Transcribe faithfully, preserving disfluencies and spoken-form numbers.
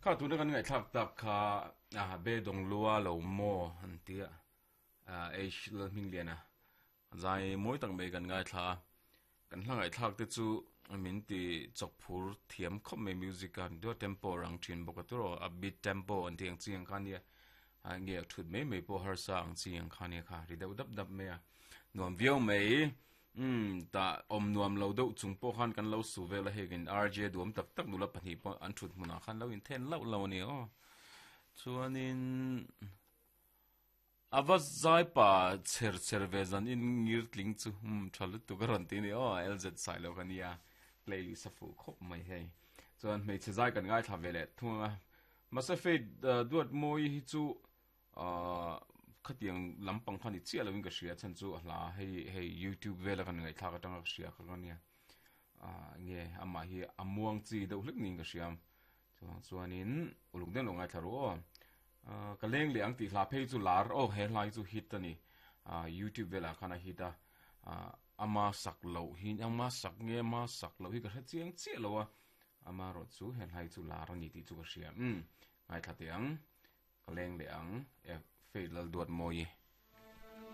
Kha tuna kan ngaihthlak tak kha a be dawng lua lo maw an tia H Lalhmingliana zai mawi tak mai kan ngaithla a kan hla ngaihthlak te chu min ti chawk phur thiam khawp mai music a dua tempo rang thin bawk a turaw a beat tempo an tih ang chi ang kha nia a nge thut mai mai pawh harsa ang chi ang kha nia kha ri deuh dap dap mai a nuam viau mai um ta awm nuam lo deuh chung pawh khan kan lo su vel a hei in R J duam tak tak nula pahnih pawh an thut hmunah khan lo inthen lauh lo a ni aw chuanin ava zai pa cher cher ve zan in ngir tling chu um tha lutuk a rawn ti ni aw L Z sai lo ka nia playlist a fuh khawp mai hei chuan hmeichhe zai kan ngaithla ve leh thung a mahse Faith duat mawi hi chu ah khatiang lampang kha ni chiah lovin ka hria chan chu a hla hei hei YouTube vela kan ngaihthlak atanga ka hria kha ka nia ah nge amah hi a muang chi deuh hlek niin ka hria chuang chuanin uluk deuh lo ngaithla ru aw ah ka leng leh ang tih hla phei chu lar aw he hla hi chu hit a ni ah YouTube velah khan a hit a ah ama sak loh hi ama sak nge ama sak loh hi ka hre chiang chiah lo a ama erawh chu he hla hi chu lar a ni tih chu ka hria um ngaithla teh ang ka leng leh ang e Faith Lalduat Mawi.